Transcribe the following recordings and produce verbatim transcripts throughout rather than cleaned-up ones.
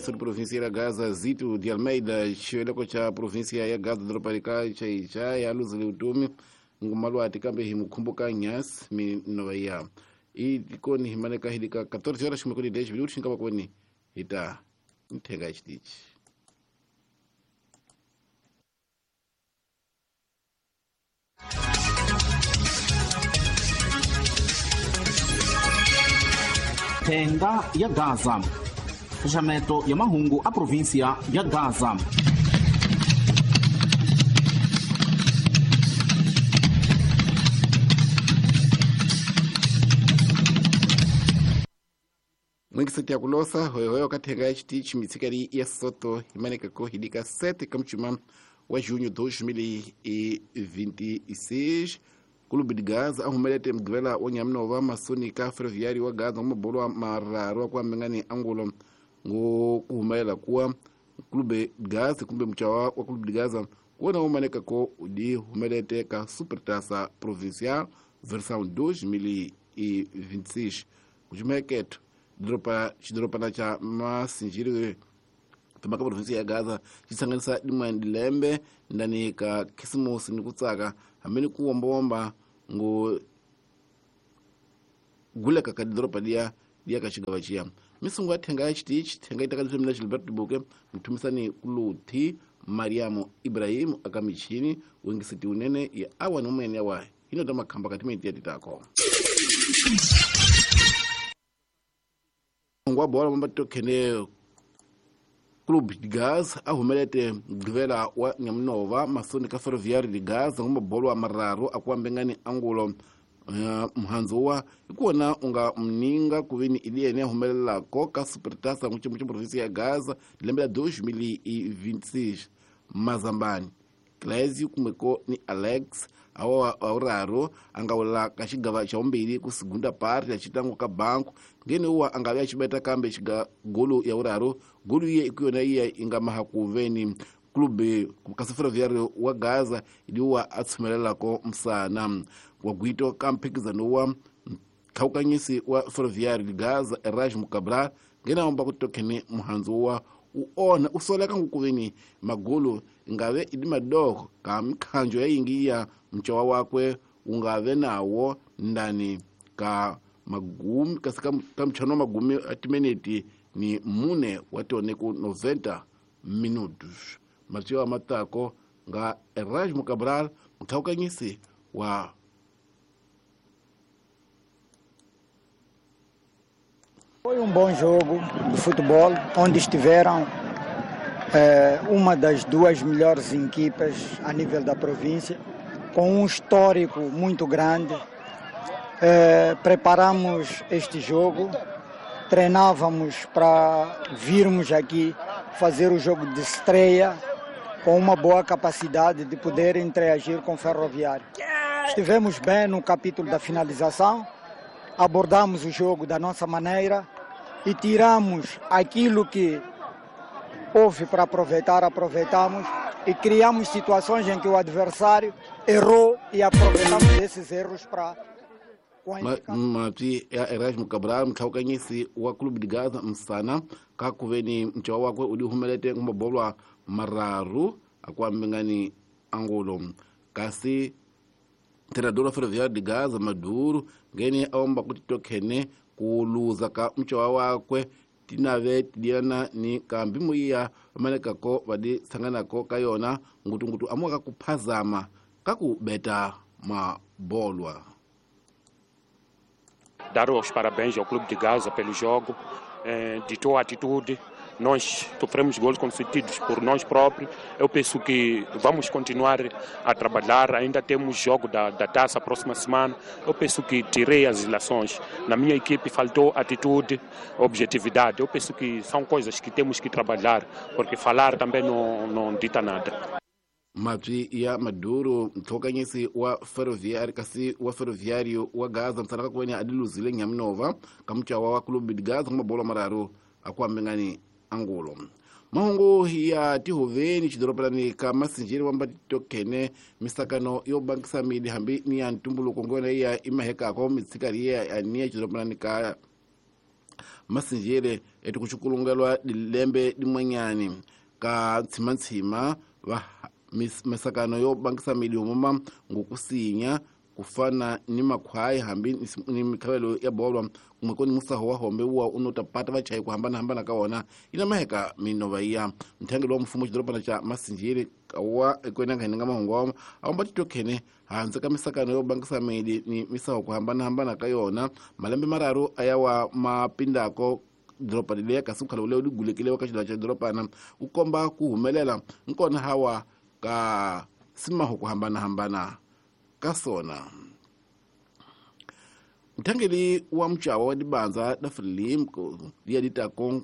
Comissão de Província ya Gaza Zito de Almeida xiveleko xa província ya Gaza doroba ka Chaicha ya luzile vutomi ngumalwati kambe hi mukhumbuka nyasi minova ya i tikoni hi maneka hi lika quatorze horas ximekoni dez minutos nkava kweni hi ta nthenga ya xitichi. Thenga ya Gaza, fechamento ya mahungu a província ya Gaza. Mwingiseti ya kulosa hoyohoyo kathenga ya xitichi mitsikali ya Soto himanekako hidika sete kamchuma wa junho dois mil e vinte e seis. Clube de Gaza ahumelete mgivela wa Nyaminova masoni ka Ferroviário wa Gaza ngomabolo mararu kwa mengani angulo ngo kuhumela kuwa Clube de Gaza kumbe mchawa wa Clube de Gaza kuona umaneka ko udi humelete ka Supertaça Provincial versão dois mil e vinte e seis. Kujumeketo dropa xidoropa na cha Masinjiri tumaka província ya Gaza xitsanganisa dimwe lembe ndani ka Khisimusi ni kutsaka hamene kuwombomba ngo guleka ka doropa dia dia ka xigava xiya misungu ya thenga ya xitichi thenga yi takaliswe mina Gilbert Buke mthumisani Kuluthi Mariamo Ibrahim aka michini wengiseti unene ya awa nomene ya wa hino ta makhamba ka timenti ya titako ngwa bola mambato khene Clube de Gaza ahumelete mgivela wa Nyaminova masoni ka Ferroviário de Gaza ngomabolo mararu akuambengani angulo uh, mhanzuwa ikuona unga mninga kuvini iliene ahumelela ka Supertaça nguchimu província ya Gaza lembe la dois mil e vinte e seis. Mazambani Clésio kumeko ni Alex awa auraro angawula ka xigava xa vumbirhi ku segunda parte ya xitango ka banku ngene uwa angave xibeta kambe xiga golo ya uraro golo iye ikuyona iya inga maha kuveni clube ka Ferroviário wa Gaza idiwa a tshumelelako msana wa gwito ka mphikizano wa khawukanyisi wa Ferroviário de Gaza Erasmo Cabral ngene amba ku tokhene muhandzu wa uona usoleka ngukuveni magolo ingave idi madoko ka mikhanjo ya yingi ya mchowa wakwe ungave nawo ndani ka magumi kasi ka mchano magumi atimeneti ni mune watone ku noventa minutos. Mathieu matako nga Erasmo Cabral mkhawukanyisi wa Foi um bom jogo de futebol, onde estiveram eh, uma das duas melhores equipas a nível da província, com um histórico muito grande. Eh, preparamos este jogo, treinávamos para virmos aqui fazer o jogo de estreia com uma boa capacidade de poder interagir com o Ferroviário. Estivemos bem no capítulo da finalização, abordamos o jogo da nossa maneira e tiramos aquilo que houve para aproveitar, aproveitamos e criamos situações em que o adversário errou e aproveitamos esses erros para... Mati Erasmo Cabral mkhawukanyisi wa Clube de Gaza msana kakuveni mchawa wakwe udihumelete ngumabolwa mararu akwambengani angulo kasi treinador wa Ferroviário de Gaza Maduro ngene aomba kuti tokhene kuluza ka mchowa wakwe tinave tidiana ni kambi muiya vamanekako vadi tsanganako ka yona ngutungutu amuka kuphazama kakubeta mabolwa. Dar os parabéns ao Clube de Gaza pelo jogo, eh, de tua atitude. Nós sofremos gols concedidos por nós próprios. Eu penso que vamos continuar a trabalhar. Ainda temos jogo da, da taça a próxima semana. Eu penso que tirei as ilações. Na minha equipe faltou atitude, objetividade. Eu penso que são coisas que temos que trabalhar, porque falar também não, não dita nada. Mati ya Maduro mthokanyisi wa Ferroviário kasi wa Ferroviário wa Gaza msanaka kuwenya adiluzile Nyaminova kamchawa wa Clube de Gaza ngomabolo mararu akuambengani angulo. Mahungu ya tihoveni xidoropanani ka Masinjiri wamba tokene misakano yo bankisa midi hambi ni ya ntumbuluko ngona ya imahekako mitsikali ya ania xidoropanani ka Masinjere etikuchukulungelwa dilembe dimwanyani ka tsimantsima va misakano yo bangisa midiomoma ngokusinya kufana ni makhwai hambi ni mikhavelo ya bolwa kumwe koni musaho wa hombe wa unotapata vachayi kuhambana hambana ka wona ina maheka minova iya mthangelo wa mfumo xidorobana xa Masinjere wa ekwena nga nga mahungu wa awamba titokhene handze ka misakano yo bangisa midi ni misaho kuhambana hambana ka yona malembe mararu ayawa mapindako doroba leya kasi mukhala uleyo ligulekile ka xidorobana xa dorobana ku komba ku humelela nkona hawa ka simaho kuhambana hambana ka sona. Mthangeli wa mchawa wa dibanza da Frelimo liya ditako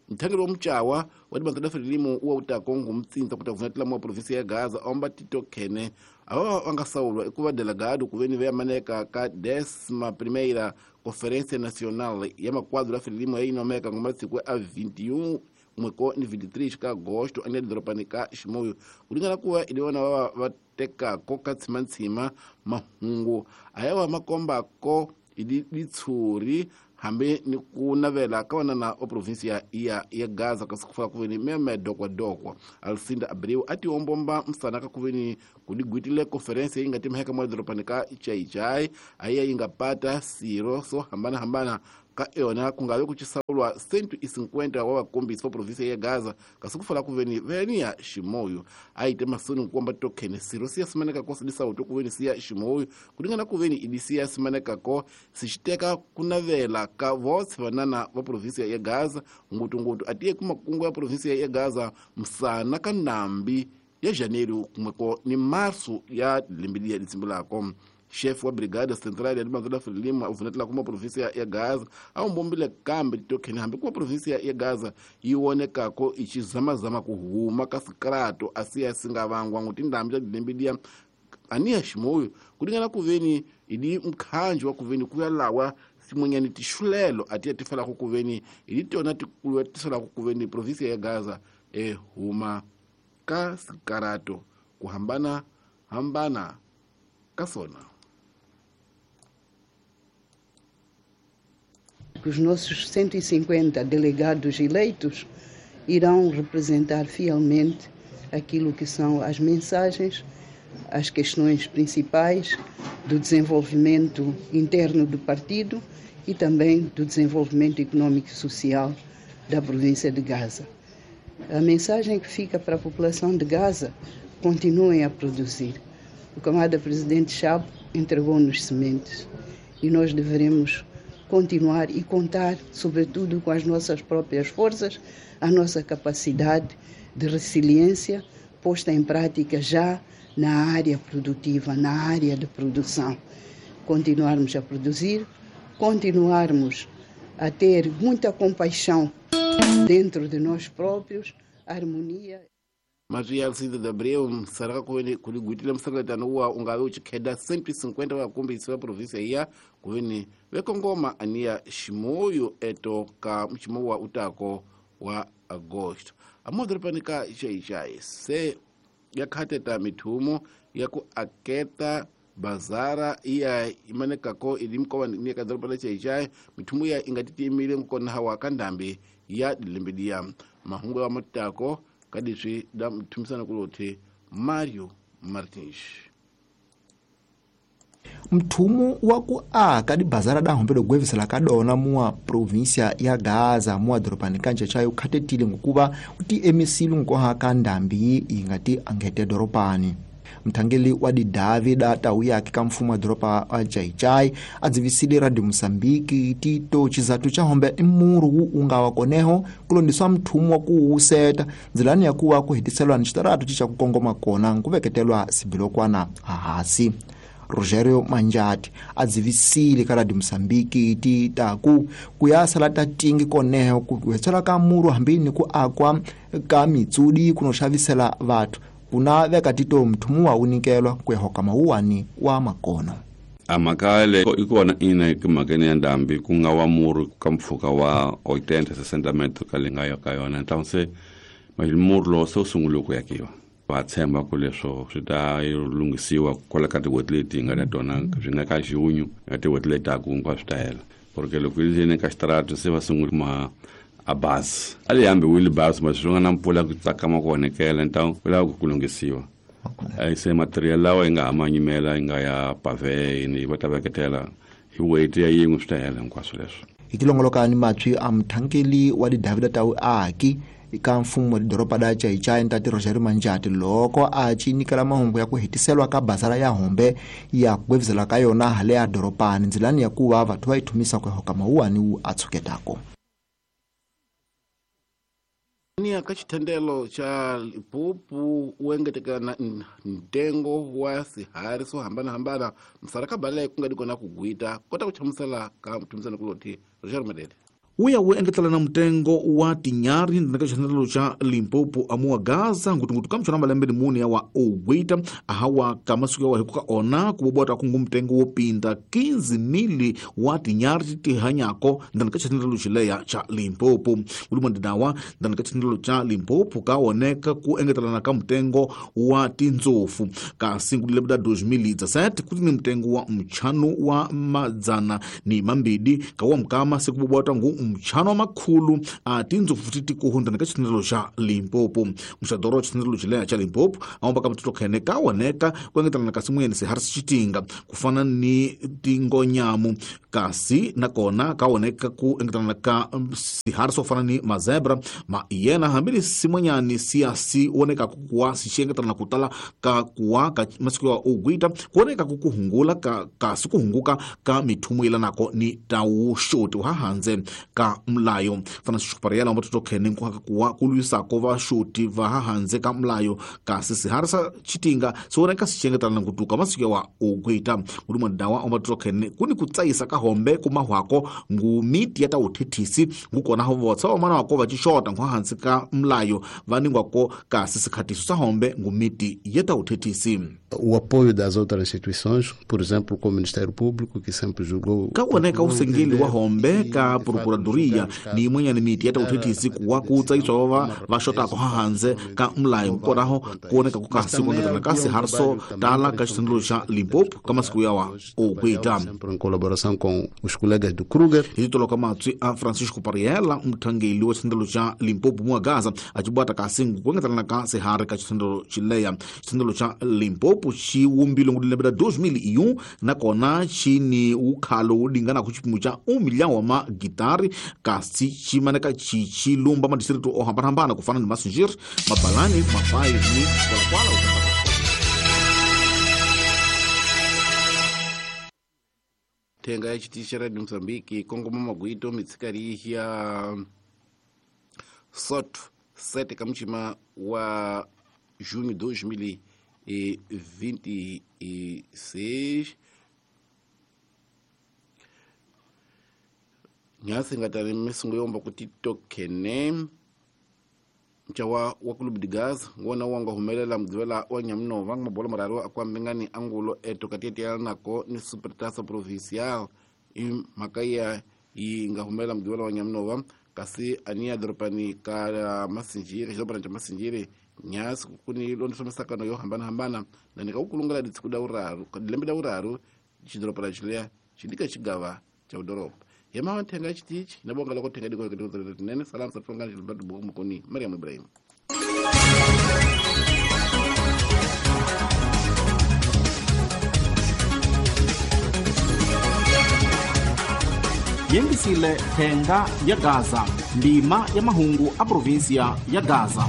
mthangeli wa mchawa wa dibanza da Frelimo wa utako ngumtsinza kuta vunatela mwa provinsi ya Gaza omba titokhene ava vanga sawulwa ekuva delegado kuveni veya maneka ka décima primeira Conferência Nacional ya maquadro da Frelimo ya ngoma siku a vinte e um mweko ni vinte e três ka agosto ane doropani ka Chimoio kulingana kuva iliona va va teka ko ka tsimantsima mahungu ayawa makomba ko idi ditshuri hambi ni ku navela ka wanana wa provinsia ya ya Gaza kasi kufaka kuveni meme dokwa dokwa Alcinda Abreu ati ombomba msana ka kuveni kudigwitile conferência inga timheka mwa doropani ka Chaichai aya ingapata siro so hambana hambana ka yona kungabe kuchisaulwa cento e cinquenta wa vakombisi va provinsia ya Gaza kasi kufala kuveni venia Chimoio aite masoni kukomba tokhene siro siya simaneka ko sidisauto kuveni siya Chimoio kulingana kuveni idi siya simaneka ko sixiteka kunavela ka votse vanana va provinsia ya Gaza ngutungutu atiye kumakungu ya provinsia ya Gaza msana ka nambi ya janeiro kumweko ni março ya lembe ya ditsimbulako. Chefe wa brigada central ya dibanza da Frelimo uvunatela kuma provinsia ya Gaza awumbombile kambe titokhene hambi kuma provinsia ya Gaza yi wonekako ichizamazama kuhuma ka sikrato asiya singavangwa ngutindambi ta dilembe aniya Chimoio kulingana kuveni idi mkhanjo wa kuveni kuya lawa simwenyani tixulelo atiya tifalako kuveni idi tona tikuluwa tisalako kuveni provinsia ya Gaza ehuma ka sikarato kuhambana hambana ka sona. Os nossos cento e cinquenta delegados eleitos irão representar fielmente aquilo que são as mensagens, as questões principais do desenvolvimento interno do partido e também do desenvolvimento econômico e social da província de Gaza. A mensagem que fica para a população de Gaza: continuem a produzir. O camarada presidente Chapo entregou-nos sementes e nós devemos continuar e contar, sobretudo, com as nossas próprias forças, a nossa capacidade de resiliência posta em prática já na área produtiva, na área de produção. Continuarmos a produzir, continuarmos a ter muita compaixão dentro de nós próprios, harmonia. Maria Alcinda de Abreu saraka kuligwitile msakatano wa ungabe uchikheda cento e cinquenta vakombisi va provinsia iya kuveni vekongoma aniya Chimoio eto ka mchimo wa utako wa agosto amodorobani ka Chaichai se yakhateta mithumo ya ku aketa bazara iya imanekako ili mkowa ni ka doroba la Chaichai mithumo ya ingatitimile nkona hawa ka ndambi ya dilembe mahungu ya matako kadiswi da mthumisana kulothe Mario Martins. Mthumu wa ku aka dibazara da hombe dogwevisela ka dona mua provinsia ya Gaza mua doropani ka Nchachai ukhatetile ngokuva uti emisile nkoha ka ndambi ingati angete doropani. Mthangeli wa didavi da tau yake ka mfumo wa doropa wa Chaichai adzivisile Radio Mosambiki tito chizatu cha hombe imuru wu unga koneho kulondiswa mthumu wa kuwuseta nzilani ya kuwa kuhitiselwa ni xitaratu chicha kukongoma kona nkuveketelwa sibilokwana hahasi. Rogerio Manjati adzivisile ka Radio Mosambiki ti taku kuyasala ta tingi koneho kuhetsela ka muru hambini ku akwa ka mitsudi kunoxavisela vathu kuna veka tito mthumu wa unikelwa kuyahoka mawuwani wa makono. Amakale ikona ina kumagene ya ndambi kunga wa muru ka mpfhuka wa oitenta sessenta metro ka linga yo ka yona então se mas muru lo so sungule ku yakiwa va tshemba ku leswo swi ta lunghisiwa kwala ka tin'hweti leti nga ta tona swi nga ka xihunyu na tin'hweti leti taka hinkwaswo swi ta hela. Porque loko yi ri ka xitarata se va sungula ma a base a li hambi base mas swi nga na mpfula ku tsakama ku onhekela então ku lava ku lunghisiwa. Se material lawa yi nga ha ma nyimela yi nga ya pave yini va ta veketela hi weight ya yin'we swi ta hela hinkwaswo leswi. Hi tilongoloka ni matshwi a muthankeli wa tidavida ta vuaki ka mfumo wa doroba da Chaichai ntate Roger Manjati loko a ci nyikela mahungu ya ku hetiselwa ka bazara ya Hombe ya ku ka yona hale ya dorobani ndzilani ya ku va vathu va yi thumisa ku hoka mawuwani wu a tshuketako. Ni ka xithendelo xa Limpopo wu engetekana ntengo wa swiharhi swo hambanahambana misala ka bale ku nga di kona ku gwita kota ku hlamusela ka muthumisani kuloti Roger Madede. Uya wu engetelana mutengo wa tinyari ndzeni ka xithendelo xa Limpopo amuwa Gaza ngutungutu ka mchona malembe ni mune ya wa ogwita ahawa ka masiku ya wa hikuka ona kubobota kungu mutengo wo pinda quinze mili wa tinyari tihanyako ndzeni ka xithendelo xileya xa Limpopo. Mulimo ndinawa ndzeni ka xithendelo xa Limpopo ka oneka ku engetelana ka mutengo wa tindzofu kasi ku lembe la dois mil e dezessete kuti ni mutengo wa mchano wa madzana ni mambidi ka wa mukama se kubobota ngu mchano makhulu a tindzofu titikuhu ndzeni ka xithendelo xa Limpopo. Muxadoro wa xithendelo xileya xa Limpopo a ka mutito khene ka oneka ku engetelana ka simuyeni swiharhi xitinga ku fana ni tingonyamu kasi nakona ka oneka ku engetelana ka swiharhi swo fana ni mazebra ma yena hambileswi simonyani siya si oneka ku kuwa si engetelana ku tala ka kuwa ka masiku ya ogwita ku oneka ku kuhungula ka kasi ku hunguka ka mithumu yelanako ni tawuxoti wa hanze ka mulayo. Fana xipariela mutito khene ku kuwa ku lwisako va xoti va hanze ka mulayo kasi swiharhi swa xitinga swi oneka swi engetelana ku tuka masiku ya wa ogwita. Mulimo dawa mutito khene ku ni ku tsayisa ka hombe ku mahwako ngu miti ya tawuthethisi ngu kona ho votsa va mana wako va xixota ngu hansi ka mulayo va ningwako kasi sikhatiso sa hombe ngu miti ya tawuthethisi. O apoio das outras instituições, por exemplo, como o Ministério Público, que sempre julgou ka oneka usengeli wa hombe ka procuradoria ni yin'wanyana miti ya tawuthethisi ku wa ku tsayiswa va va xotako hanze ka mulayo konaho ku oneka ku kasi ku engetelana ka swiharhi swo tala ka xithendelo xa Limpopo ka masiku ya wa ogwita. Sempre em colaboração com os colegas do Kruger. Hi toloka matswi a Francisco Pariela muthangeli wa xithendelo xa Limpopo muwa Gaza a ci bwata kasi ku engetelana ka swiharhi ka xithendelo xileya. Xithendelo xa Limpopo xi wumbile ngu lembe ra dois mil e um nakona xi ni wukhalo wu linganaku xipimo xa um milhão wa magitari kasi xi maneka xi xi lumba madistrito o hambanahambana ku fana ni Massingir, Mabalani, Mapai ni Kwalakwala. Thenga ya xitichi xa Radio Mozambique kongoma magwito mitsikari ya Soto sete ka muchima wa junho dois mil e vinte e seis. Nyasi ngatani misungu yomba kuti tokene mchawa wa Clube de Gaza ngona wanga humelela mdwela wa Nyamunova mabola mararu akwambengani angulo eto katete nako ni Supertaça Provincial i makaya yi nga humelela mdwela wa Nyamunova kasi ania dropani ka Massingiri xidorobana xa Massingiri nyasi kuni londisa misakano yo hambanahambana na nika ukulungela ditsiku da uraru lembe da uraru xidorobana xileya xi xigava xa udoroba. Yema thenga xitichi na bonga loko thenga diko ke nene salam sa tlongana xilbatu buku mukoni Mariam Ibrahim. Yengisile thenga ya Gaza ndima ya mahungu a provinsia ya Gaza.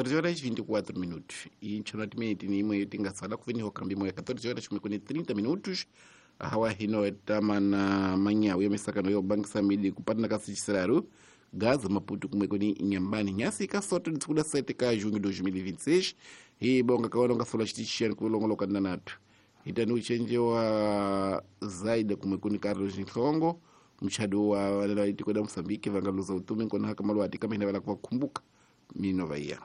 catorze horas e vinte e quatro minutos. E nchonati ni imwe tingasala kuveni hokambi moya catorze horas e trinta minutos. Hawa hino etamana manyawu ya misakano yo bangisa midi kupatana kasi chisiraru Gaza Maputo kumwekoni Inhambane nyasi ka soto ditsikuda sete ka junho dois mil e vinte e seis. Hi bonga kawana ngasola chitichiyani kulongoloka nanatu. Itani uchenje wa Zaida kumwekoni Carlos Nhlongo mchado wa wale wa itikoda Mosambiki vangaluza utume nkona haka maluati kama hinawela kwa kumbuka minova iya.